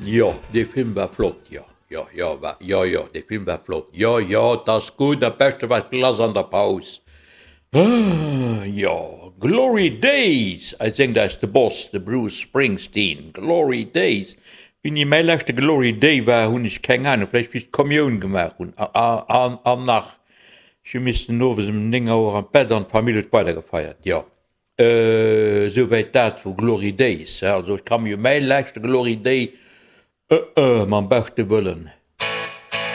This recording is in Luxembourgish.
Jo, dee Film war flott, jo, jo, jo, war, jo, jo, dee Film war flott, jo, jo, 't ass gutt, am beschte war d'Glace an der Paus, jo, Glory Days, séngt eis de Boss, de Bruce Springsteen, Glory Days, Wéini mäi leschte Glory Day war, hunn ech keng Ahnung, vläicht wéi ech d'Kommioun gemaach hunn, an nach, ech hu missten owes ëm 9 Auer an d'Bett an d'Famill huet weidergefeiert, jo. Esouwäit dat vu Glory Days. Also ech ka mir mäi leschte Glory Day, mam beschte Wëllen.